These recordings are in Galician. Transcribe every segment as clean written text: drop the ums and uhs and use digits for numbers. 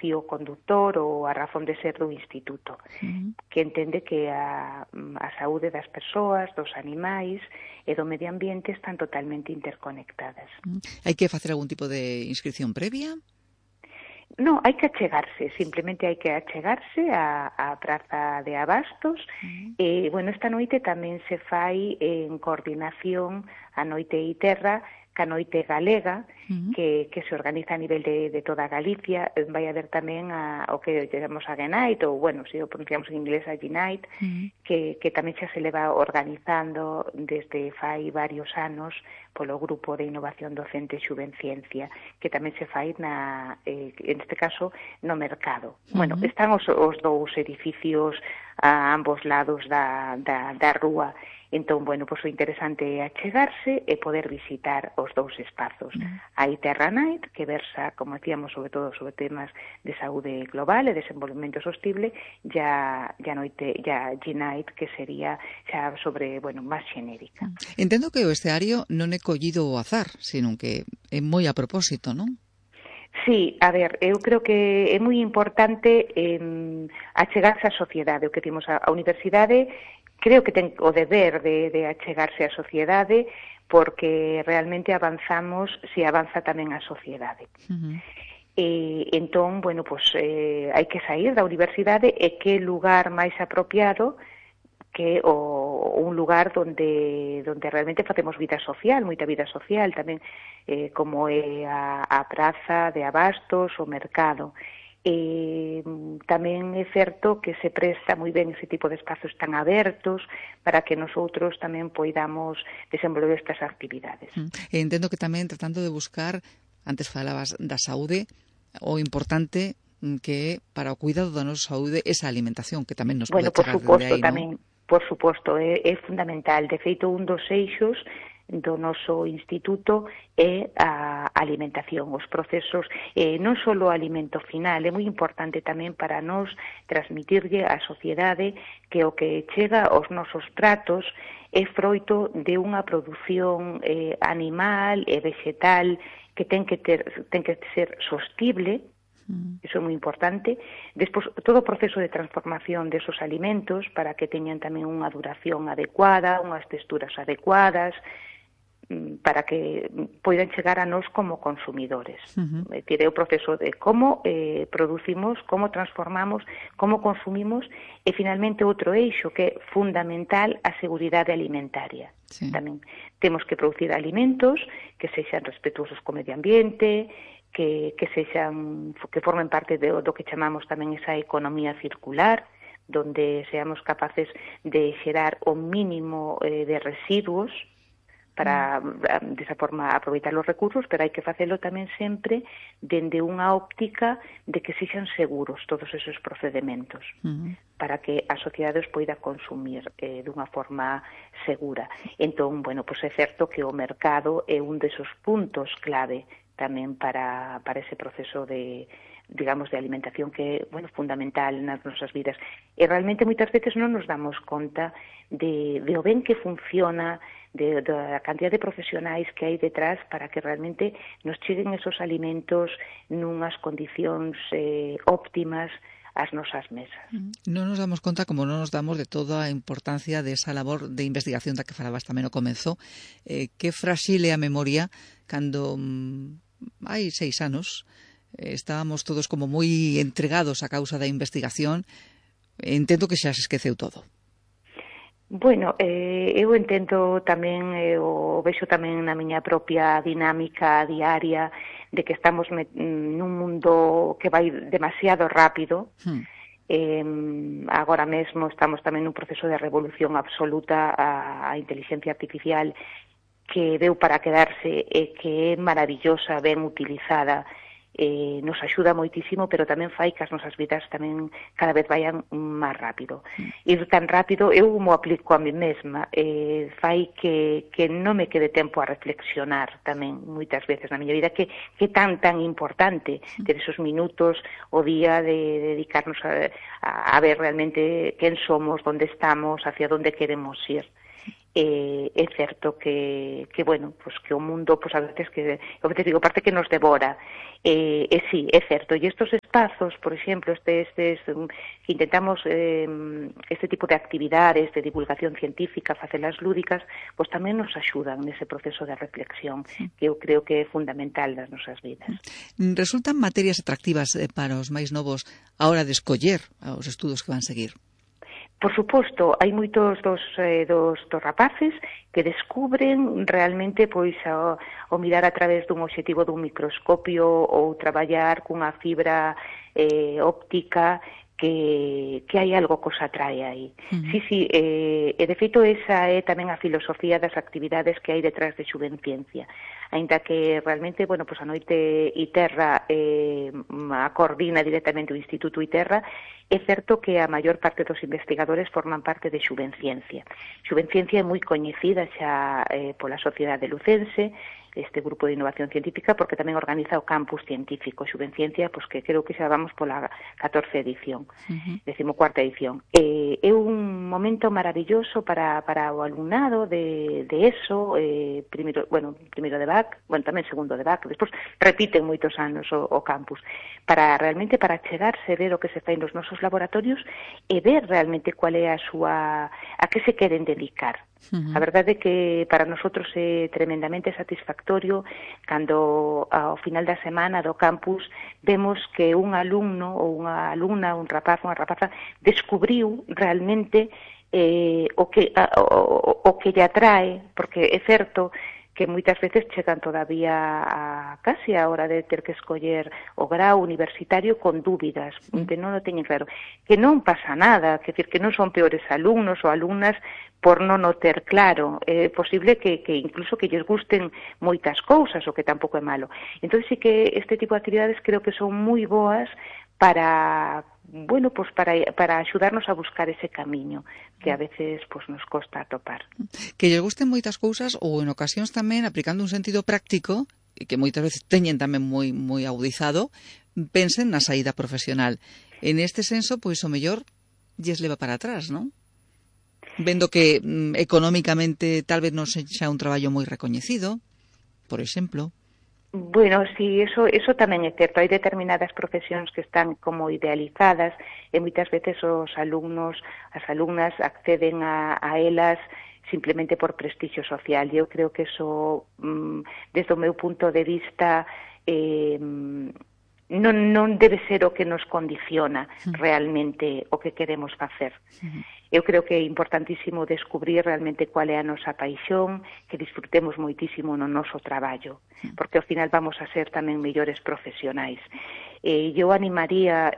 fío conductor ou a razón de ser do Instituto, que entende que a saúde das persoas, dos animais e do medio ambiente están totalmente interconectadas. Hai que facer algún tipo de inscripción previa? Non, hai que achegarse, simplemente hai que achegarse á Praza de Abastos. E, bueno, esta noite tamén se fai en coordinación a Noite Iterra, ca Noite Galega, que se organiza a nivel de toda Galicia. Vai haber tamén o que llamamos a G-Night, ou, bueno, se o pronunciamos en inglés a G-Night, que tamén xa se leva organizando desde fai varios anos polo Grupo de Innovación Docente Xuvenciencia, que tamén se fai en este caso, no mercado. Bueno, están os dous edificios a ambos lados da rúa. Entón, bueno, pois o interesante é achegarse e poder visitar os dous espazos. Hai Terra Night, que versa, como decíamos, sobre todo sobre temas de saúde global e desenvolvemento sostible, ya G-Night, que sería xa sobre, bueno, máis xenérica. Entendo que o escenario non é collido ao azar, sino que é moi a propósito, non? Sí, a ver, eu creo que é moi importante achegarse á sociedade, o que temos a universidade. Creo que ten o deber de achegarse á sociedade, porque realmente avanzamos se avanza tamén a sociedade. Entón, bueno, pues, hai que sair da universidade, e que lugar máis apropiado que un lugar donde realmente facemos vida social, moita vida social tamén, como é a Praza de Abastos, o mercado. Tamén é certo que se presta moi ben ese tipo de espazos tan abertos para que nosotros tamén poidamos desenvolver estas actividades. Entendo que tamén tratando de buscar, antes falabas da saúde, o importante que para o cuidado da nosa saúde esa alimentación que tamén nos pode chegar dende aí, non? Por suposto, é fundamental. De feito, un dos eixos do noso instituto é a alimentación, os procesos, non só o alimento final, é moi importante tamén para nos transmitirlle á sociedade que o que chega aos nosos pratos é froito de unha produción animal e vegetal que ten que ser sostible. Iso é moi importante. Despois, todo o proceso de transformación desos alimentos para que teñan tamén unha duración adecuada, unhas texturas adecuadas, para que poidan chegar a nós como consumidores. É o proceso de como producimos, como transformamos, como consumimos, e finalmente outro eixo que é fundamental, a seguridade alimentaria. Tamén temos que producir alimentos que sexan respetuosos co medio ambiente, que formen parte do que chamamos tamén esa economía circular, donde seamos capaces de xerar o mínimo de residuos para, desa forma, aproveitar os recursos, pero hai que facelo tamén sempre dende unha óptica de que sexan seguros todos esos procedementos, para que a sociedade os poida consumir dunha forma segura. Entón, bueno, pois é certo que o mercado é un desos puntos clave tamén para ese proceso de, digamos, de alimentación que é, bueno, fundamental nas nosas vidas. E realmente moitas veces non nos damos conta de o ben que funciona, da cantidad de profesionais que hai detrás para que realmente nos cheguen esos alimentos nunhas condicións óptimas ás nosas mesas. Non nos damos conta, como non nos damos de toda a importancia desa labor de investigación da que falabas tamén ao comezo, que frágil é a memoria cando hai 6 anos estábamos todos como moi entregados á causa da investigación. Entendo que xa se esqueceu todo. Bueno, eu entendo tamén, o vexo tamén na miña propia dinámica diaria de que estamos nun mundo que vai demasiado rápido. Agora mesmo estamos tamén nun proceso de revolución absoluta. A inteligencia artificial que veu para quedarse e que é maravillosa, ben utilizada, nos axuda moitísimo, pero tamén fai que as nosas vidas tamén cada vez vayan máis rápido. Ir tan rápido, eu mo aplico a mí mesma, fai que non me quede tempo a reflexionar tamén moitas veces na miña vida, que tan importante ter esos minutos o día de dedicarnos a ver realmente quen somos, onde estamos, hacia onde queremos ir. é certo que bueno, pues que o mundo, pues a veces digo, parte que nos devora. Sí, é certo. E estes espazos, por exemplo, que intentamos este tipo de actividades de divulgación científica, facelas lúdicas, pues tamén nos axudan nese proceso de reflexión, que eu creo que é fundamental nas nosas vidas. Resultan materias atractivas para os máis novos a hora de escoller os estudos que van seguir? Por suposto, hai moitos dos rapaces que descubren realmente pois o mirar a través dun obxectivo dun microscopio ou traballar cunha fibra óptica que hai algo que os atrae aí. Sí, e de feito esa é tamén a filosofía das actividades que hai detrás de Xuvenciencia. Aínda que realmente, bueno, pues a noite ITERRA a coordina directamente o Instituto ITERRA, é certo que a maior parte dos investigadores forman parte de Xuvenciencia. Xuvenciencia é moi coñecida xa pola sociedade lucense, este grupo de innovación científica, porque tamén organiza o campus científico Xuvenciencia, pues que creo que xa vamos pola 14ª edición, 14ª edición. É un momento maravilloso para o alumnado de ESO, primeiro de BAC, tamén segundo de BAC, despois repiten moitos anos o campus, realmente para chegarse, ver o que se fai nos nosos laboratorios e ver realmente cual é a que se queren dedicar. A verdade é que para nosotros é tremendamente satisfactorio cando ao final da semana do campus vemos que un alumno ou unha alumna, un rapaz, unha rapaza descubriu realmente o que lle atrae, porque é certo que moitas veces chegan todavía casi a hora de ter que escoller o grau universitario con dúbidas, que non o teñen claro, que non pasa nada, que non son peores alumnos ou alumnas por non o ter claro. É posible que incluso que lles gusten moitas cousas, o que tampouco é malo. Entón, sí que este tipo de actividades creo que son moi boas para axudarnos a buscar ese camiño que a veces nos costa atopar. Que lles gusten moitas cousas ou en ocasións tamén aplicando un sentido práctico que moitas veces teñen tamén moi agudizado, pensen na saída profesional. En este senso, pois o mellor lles leva para atrás, non? Vendo que económicamente tal vez non sexa un traballo moi recoñecido, por exemplo. Bueno, sí, eso tamén é certo. Hai determinadas profesións que están como idealizadas e moitas veces os alumnos, as alumnas acceden a elas simplemente por prestixio social. E eu creo que eso, desde o meu punto de vista, non debe ser o que nos condiciona realmente o que queremos facer. Eu creo que é importantísimo descubrir realmente cual é a nosa paixón, que disfrutemos moitísimo no noso traballo, porque ao final vamos a ser tamén mellores profesionais. Eu animaría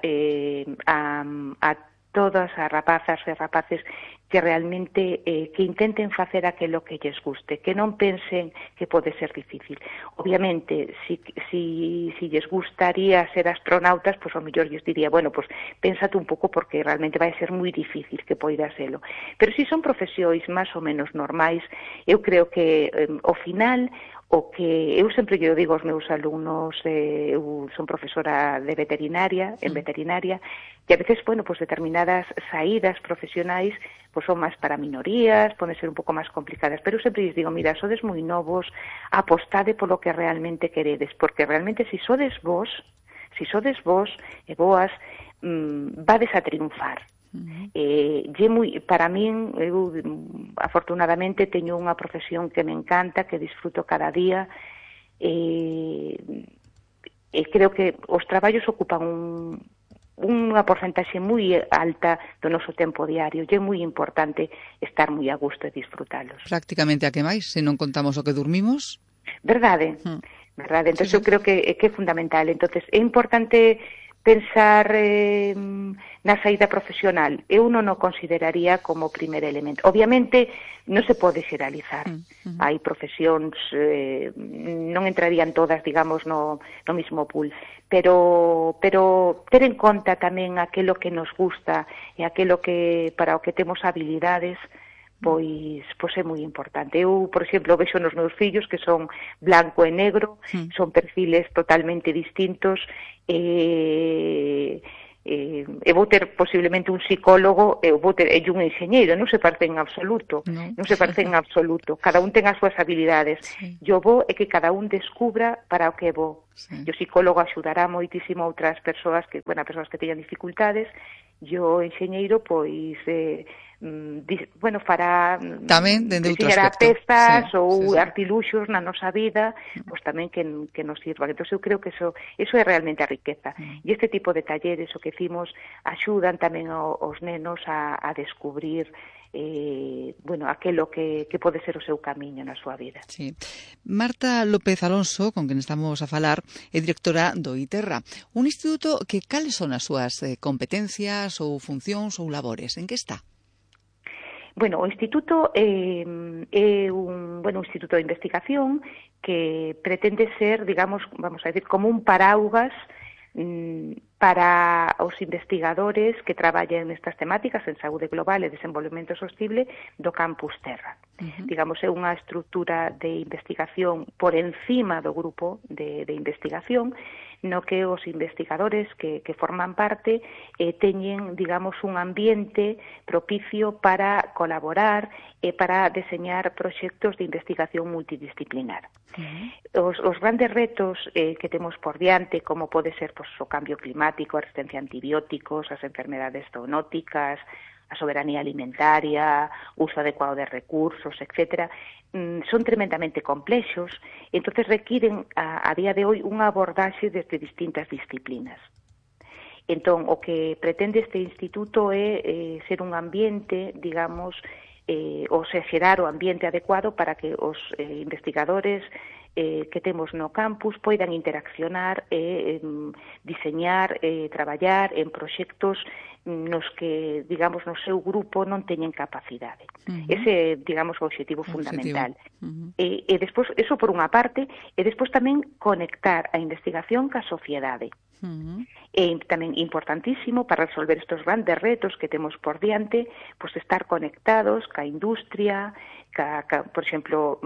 a todas as rapazas e rapaces que realmente que intenten facer aquilo que lles guste, que non pensen que pode ser difícil. Obviamente, si lles gustaría ser astronautas, pois ao mellor lles diría, bueno, pois pénsate un pouco porque realmente vai ser moi difícil que poida selo. Pero si son profesións máis ou menos normais, eu creo que ao final o que eu sempre lle digo aos meus alumnos, eu son profesora de veterinaria, en veterinaria, e a veces, bueno, pues determinadas saídas profesionais pues son máis para minorías, poden ser un pouco máis complicadas, pero eu sempre lles digo, mira, sodes moi novos, apostade polo que realmente queredes, porque realmente si sodes vos e boas, vades a triunfar. Para min, eu afortunadamente teño unha profesión que me encanta, que disfruto cada día, e creo que os traballos ocupan unha porcentaxe moi alta do noso tempo diario, e é moi importante estar moi a gusto e disfrutalos. Prácticamente a que máis, se non contamos o que dormimos? Verdade. Entón, eu creo que é fundamental. Entón, é importante pensar na saída profesional. Eu non o consideraría como primer elemento. Obviamente, non se pode xeralizar. Hai profesións, non entrarían todas, digamos, no mismo pool. Pero ter en conta tamén aquilo que nos gusta e aquilo que para o que temos habilidades, pois é moi importante. Eu, por exemplo, vexo nos meus fillos que son blanco e negro, son perfiles totalmente distintos, eu vou ter posiblemente un psicólogo e un enxeñeiro, non se parecen en absoluto, non se parecen en absoluto, cada un ten as súas habilidades. Sí. Yo vou é que cada un descubra para o que vou. Sí. O psicólogo axudará moitísimo a outras persoas que, persoas que teñan dificultades, e o enxeñeiro, pois, fará tamén diseñará pezas ou artiluxos na nosa vida, pois tamén que nos sirvan. Entón eu creo que eso é realmente a riqueza. E este tipo de talleres, o que hicimos, axudan tamén aos nenos a descubrir aquelo que pode ser o seu camiño na súa vida. Sí. Marta López Alonso, con quen estamos a falar, é directora do ITERRA, un instituto que cales son as súas competencias ou funcións ou labores, en que está? Bueno, o instituto é un instituto de investigación que pretende ser, digamos, vamos a decir, como un paraugas para os investigadores que traballan nestas temáticas en saúde global e desenvolvemento sostible do Campus Terra. Digamos, é unha estrutura de investigación por encima do grupo de investigación, no que os investigadores que forman parte teñen, digamos, un ambiente propicio para colaborar e para deseñar proxectos de investigación multidisciplinar. Os grandes retos que temos por diante, como pode ser o cambio climático, a resistencia a antibióticos, as enfermedades zoonóticas, a soberanía alimentaria, uso adecuado de recursos, etcétera, son tremendamente complexos, entonces requiren a día de hoy unha abordaxe desde distintas disciplinas. Entón, o que pretende este instituto é ser un ambiente, digamos, xerar o ambiente adecuado para que os investigadores que temos no campus poidan interaccionar e diseñar, traballar en proxectos nos que, digamos, no seu grupo non teñen capacidade. Ese, digamos, o objetivo fundamental. E despois, eso por unha parte, e despois tamén conectar a investigación ca sociedade. E tamén importantísimo para resolver estes grandes retos que temos por diante, pois estar conectados ca industria, por exemplo,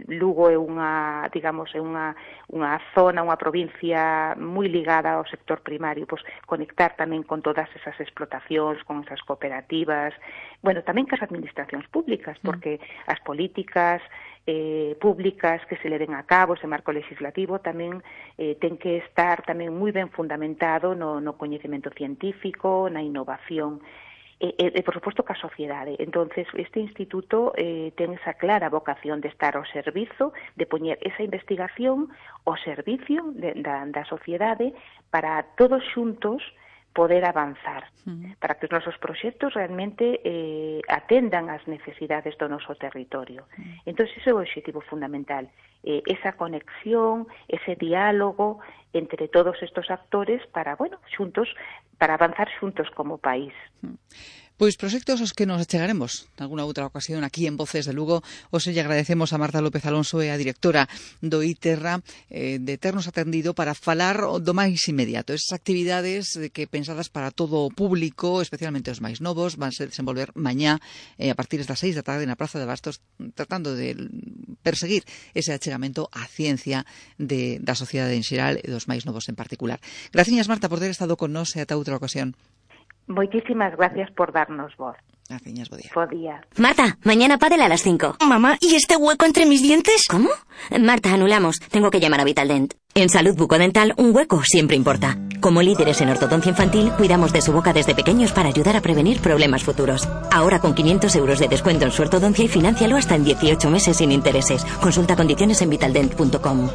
Lugo é unha zona, unha provincia moi ligada ao sector primario, pois conectar tamén con todas esas explotacións, con esas cooperativas, tamén cas administracións públicas, porque as políticas públicas que se leven a cabo, ese marco legislativo tamén ten que estar tamén moi ben fundamentado no coñecemento científico, na innovación, e por suposto ca sociedade. Entonces, este instituto ten esa clara vocación de estar ao servizo, de poñer esa investigación ao servicio da sociedade para todos xuntos poder avanzar, para que os nosos proxectos realmente atendan as necesidades do noso territorio. Entón, ese é o objetivo fundamental, esa conexión, ese diálogo entre todos estos actores para, xuntos, para avanzar xuntos como país. Pois proxectos os que nos achegaremos nalgúna outra ocasión aquí en Voces de Lugo. Hoxe lle agradecemos a Marta López Alonso e a directora do ITERRA de ternos atendido para falar do máis inmediato. Esas actividades que pensadas para todo o público, especialmente os máis novos, van se desenvolver mañá a partir das 6 da tarde na Praza de Bastos, tratando de perseguir ese achegamento á ciencia da sociedade en xeral e dos máis novos en particular. Graciñas, Marta, por ter estado con nós e ata outra ocasión. Muchísimas gracias por darnos voz. Gracias, buen día. Buen día. Marta, mañana pádel a las 5. Mamá, ¿y este hueco entre mis dientes? ¿Cómo? Marta, anulamos. Tengo que llamar a Vitaldent. En salud bucodental, un hueco siempre importa. Como líderes en ortodoncia infantil, cuidamos de su boca desde pequeños para ayudar a prevenir problemas futuros. Ahora con 500 euros de descuento en su ortodoncia y financialo hasta en 18 meses sin intereses. Consulta condiciones en vitaldent.com.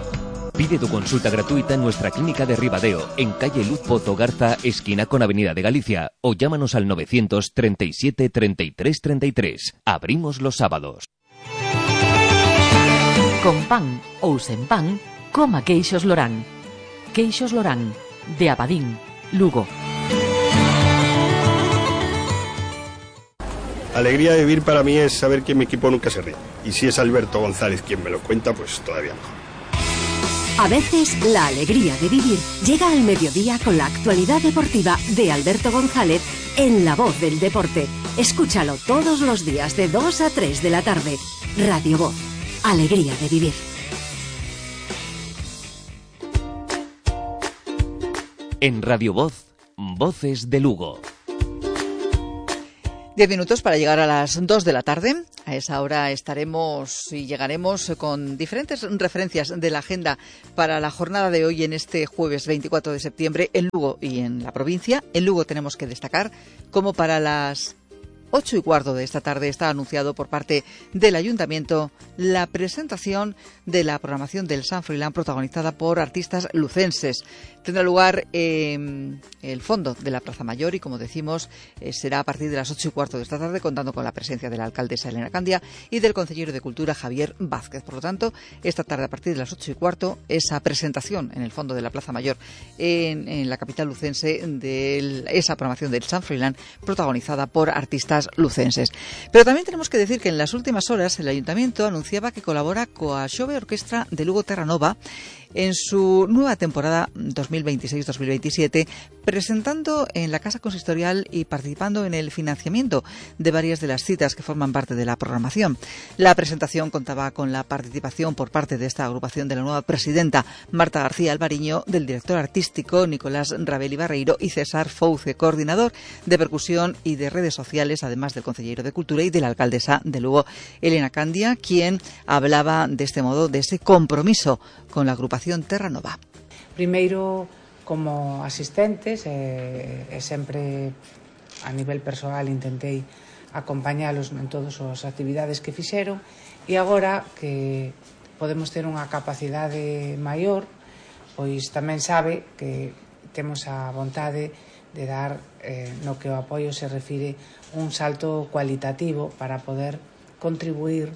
Pide tu consulta gratuita en nuestra clínica de Ribadeo, en calle Luz Pozo Garza, esquina con Avenida de Galicia, o llámanos al 937 33 33. Abrimos los sábados. Con pan ou sen pan, coma queixos Lorán. Queixos Lorán, de Abadín, Lugo. Alegría de vivir para mí es saber que mi equipo nunca se ríe. Y si es Alberto González quien me lo cuenta, pues todavía mejor. A veces, la alegría de vivir llega al mediodía con la actualidad deportiva de Alberto González en La Voz del Deporte. Escúchalo todos los días de 2 a 3 de la tarde. Radio Voz. Alegría de vivir. En Radio Voz, Voces de Lugo. 10 minutos para llegar a las 2 de la tarde. A esa hora estaremos y llegaremos con diferentes referencias de la agenda para la jornada de hoy en este jueves 24 de septiembre en Lugo y en la provincia. En Lugo tenemos que destacar como para las 8:15 de esta tarde está anunciado por parte del Ayuntamiento la presentación de la programación del Sant Froilán protagonizada por artistas lucenses. Tendrá lugar en el fondo de la Plaza Mayor y, como decimos, será a partir de las 8:15 de esta tarde, contando con la presencia de la alcaldesa Elena Candia y del consejero de Cultura Javier Vázquez. Por lo tanto, esta tarde a partir de las 8:15, esa presentación en el fondo de la Plaza Mayor en la capital lucense de esa programación del Sant Froilán protagonizada por artistas lucenses. Pero también tenemos que decir que en las últimas horas el Ayuntamiento anunciaba que colabora coa Xove Orquestra de Lugo Terra Nova en su nueva temporada 2026-2027, presentando en la Casa Consistorial y participando en el financiamiento de varias de las citas que forman parte de la programación. La presentación contaba con la participación por parte de esta agrupación de la nueva presidenta Marta García Alvariño, del director artístico Nicolás Rabeli Barreiro y César Fouce, coordinador de percusión y de redes sociales, además del consejero de Cultura y de la alcaldesa de Lugo, Elena Candia, quien hablaba de este modo de ese compromiso con la agrupación Terra Nova. Primeiro, como asistentes, sempre a nivel persoal intentei acompañalos en todas as actividades que fixeron, e agora que podemos ter unha capacidade maior, pois tamén sabe que temos a vontade de dar, no que o apoio se refire, un salto cualitativo para poder contribuir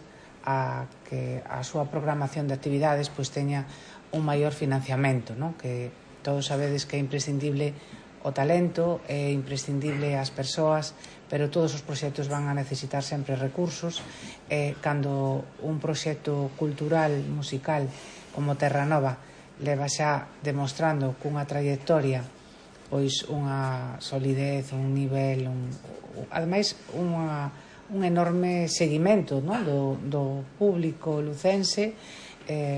a que a súa programación de actividades pois teña un maior financiamento, non? Que todos sabedes que é imprescindible o talento, é imprescindible as persoas, pero todos os proxectos van a necesitar sempre recursos. Cando un proxecto cultural, musical, como Terra Nova, leva xa demostrando cunha trayectoria pois unha solidez, un nivel, ademais un enorme seguimento, non? do público lucense,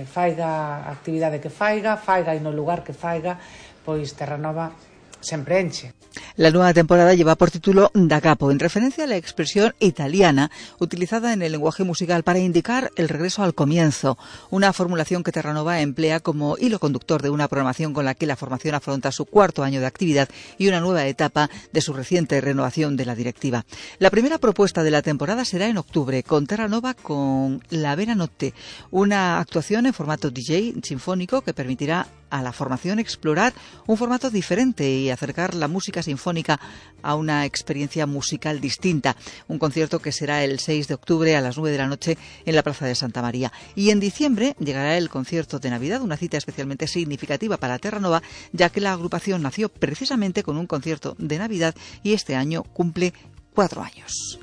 faiga a actividade que faiga e no lugar que faiga, pois Terra Nova sempre enche. La nueva temporada lleva por título Da Capo, en referencia a la expresión italiana utilizada en el lenguaje musical para indicar el regreso al comienzo, una formulación que Terra Nova emplea como hilo conductor de una programación con la que la formación afronta su 4º año de actividad y una nueva etapa de su reciente renovación de la directiva. La primera propuesta de la temporada será en octubre, con Terra Nova con La Vera Notte, una actuación en formato DJ sinfónico que permitirá a la formación explorar un formato diferente y acercar la música sinfónica a una experiencia musical distinta. Un concierto que será el 6 de octubre a las 9 de la noche en la Plaza de Santa María. Y en diciembre llegará el concierto de Navidad, una cita especialmente significativa para Terra Nova, ya que la agrupación nació precisamente con un concierto de Navidad y este año cumple 4 años.